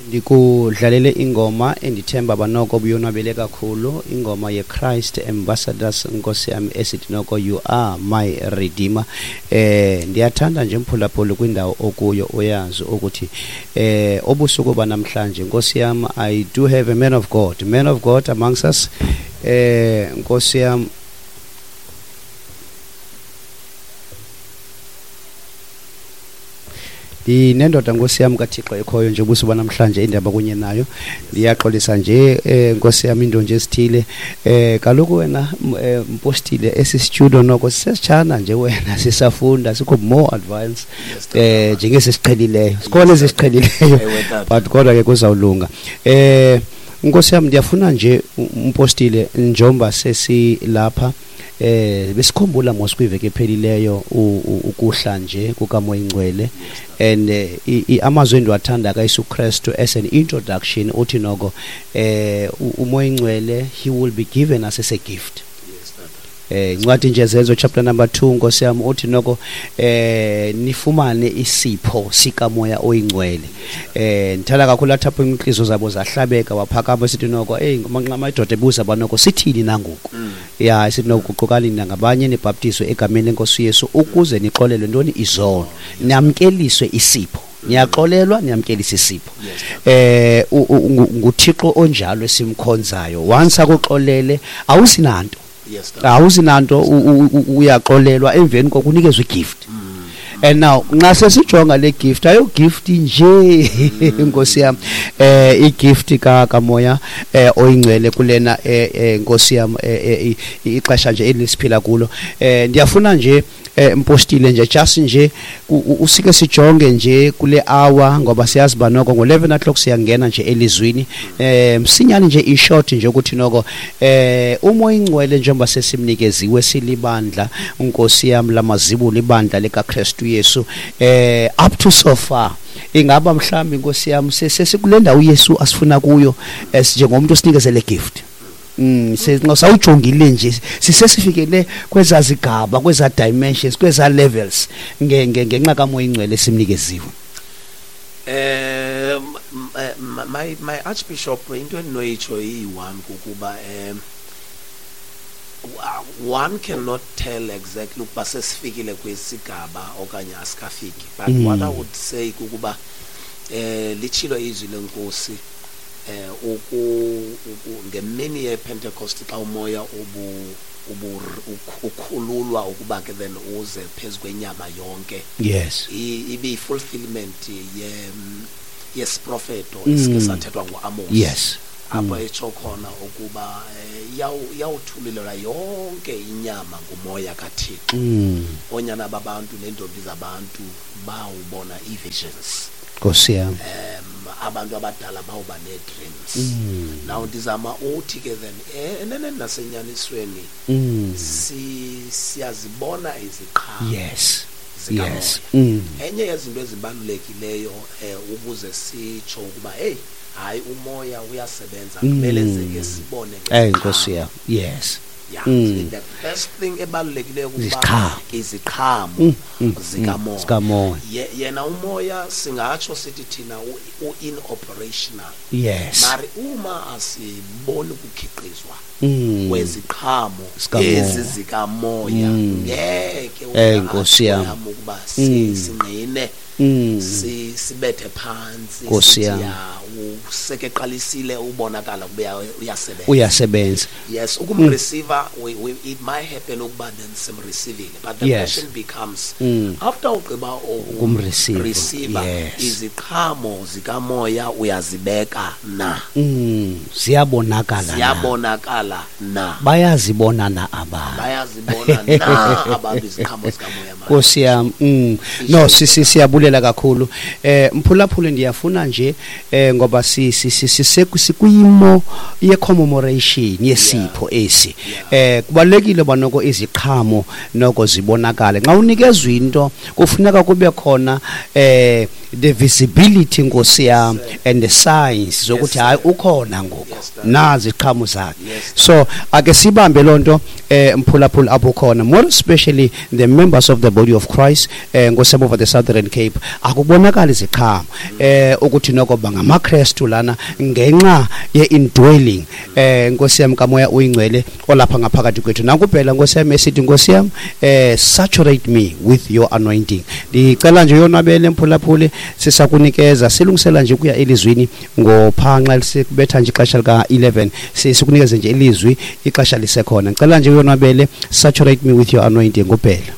Ndikudlalele ingoma endithemba banoko buyonwabele kakhulu, ingoma ye-Christ Ambassadors, Nkosi yam, esithi noko you are my redeemer. Ndiyathanda nje mphulaphuli kwindawo okuyo uyazi ukuthi obusuku banamhlanje, Nkosi yam, I do have a man of God, man of God amongst us. Nkosi yam, ndinendoda Nkosi yam kaThixo ekhoyo nje ubusuku banamhlanje indaba kunye nayo. Ndiyaxolisa nje Nkosi yam into nje esithile. Kaloku wena mpostile esi studio noko sisesitshana nje wena sisafunda sikho more advance njengesi siqhelileyo. Sikhona esisiqhelileyo but kodwa ke kuzawulunga. Nkosi yam ndiyafuna nje umpostile njomba sesilapha. Besikhumbula mos kwiveki ephelileyo ukuhla nje kukaMoya Ingcwele and amazwi endiwathanda kaYesu Kristu as an introduction uthi noko uMoya Ingcwele he will be given us as a gift. Incwadi nje Zenzo chapter number 2 Nkosi yam uthi noko nifumane isipho sikaMoya Oyingcwele. Ndithanda kakhulu athi apho iinhliziyo zabo zahlabeka waphakama sithi noko hey amadoda ebuza banoko sithini nangoku. Ya sithi noko guqukani nangabanye nibhaptizwe egameni lenkosi Yesu ukuze nixolelwe ntoni izono namkeliswe isipho. Niyaxolelwa niyamkelisa isipho. nguThixo onjalo esimkhonzayo. Once akuxolele awusinanto. Awusinanto uyaxolelwa emveni kokunikezwa igift. And now nxa sesijonga le gift ayo gift nje Nkosi yam igift kaMoya oyingcwele kulena Nkosi yam ixesha nje elisiphila kulo. Ndiyafuna nje mpostile nje just nje usike sijonge nje kule hour ngoba siyazi ba noko ngo-11 o'clock siyangena nje elizwini. Msinyane nje in short nje ukuthi noko uMoya Ingcwele njengoba sesimnikeziwe silibandla Nkosi yam lamazibulo ibandla likaKristu Yesu up to so far ingaba mhlambi Nkosi yam sesikule ndawo uYesu asifuna kuyo njengomuntu osinikezele gift. Sawujongile nje sisesifikele kweza zigaba kweza dimensions kweza levels ngenxa kaMoya Ingcwele simnikeziwe. My archbishop into endinoyitsho iyi-one kukuba one cannot tell exactly ukuba sesifikile kwesigaba okanye asikafiki, but what I would say kukuba litshilo izwi lenkosi ngemini yePentecost xa umoya ukhululwa ukuba ke then uze phezu kwenyama yonke. Yes. Ibe fulfillment yesiprofeto esike sathethwa nguAmos. Yes. Apho etsho khona ukuba yawuthululelwa yonke inyama ngumoya kaThixo. Onyana babantu neentombi zabantu bawubona ii-visions. Nkosi yam. Abantu abadala bawuba nee-dreams. Now ndizama uthi ke then eneneni nasenyanisweni siyazibona iziqhamo. Yes. Zikamoya. Yes. Enye yezinto ezibalulekileyo ukuze sitsho ukuba hey hayi umoya uyasebenza kumele ke sibone ngeziqhamo. Nkosi yam. Yes. Yeah. The first thing ebalulekileyo kuba iziqhamo zikamoya. Yena umoya singatsho sithi thina u-in operational. Yes. Mari uma asiboni ukukhiqizwa kweziqhamo ezi zikamoya ngeke Nkosi yam ukuba singqine sibethe phansi usekeqalisile ubonakala kube uyasebenza. Uyasebenza. Yes, ukumreceiver it might happen ukuba then simreceivile, but the question becomes after ugqiba ukumreceiver iziqhamo zikamoya uyazibeka na? Ziyabonakala. Ziyabonakala na? Bayazibona na abantu? Bayazibona na abantu iziqhamo zikamoya? Nkosi yam. No siyabulela kakhulu. Mphulaphuli ndiyafuna nje ngoba sikwimo ye commemoration yesipho esi. Kubalekile banoko iziqhamo noko zibonakale. Xa unikezwe into kufuneka kube khona the visibility, Nkosi yam, and the signs zokuthi hayi ukhona ngoku, nazi iziqhamo zakhe. So ake sibambe loo nto, mphulaphula apho khona, more especially the members of the body of Christ, Nkosi yam, over the Southern Cape, akubonakali iziqhamo ukuthi noko bangamaKrestu lana ngenxa ye-indwelling, Nkosi yam, kaMoya Uyingcwele olapha ngaphakathi kwethu. Nakubhela, Nkosi yam, esithi, Nkosi yam, saturate me with your anointing. Ndicela nje yonwabele, mphulaphuli, sisakunikeza silungisela nje ukuya elizwini ngophanxa lisibetha nje ixesha lika-11, sikunikeze nje ilizwi ixesha lisekhona. Ndicela nje uyonwabele, "Saturate Me with Your Anointing", ngubhela.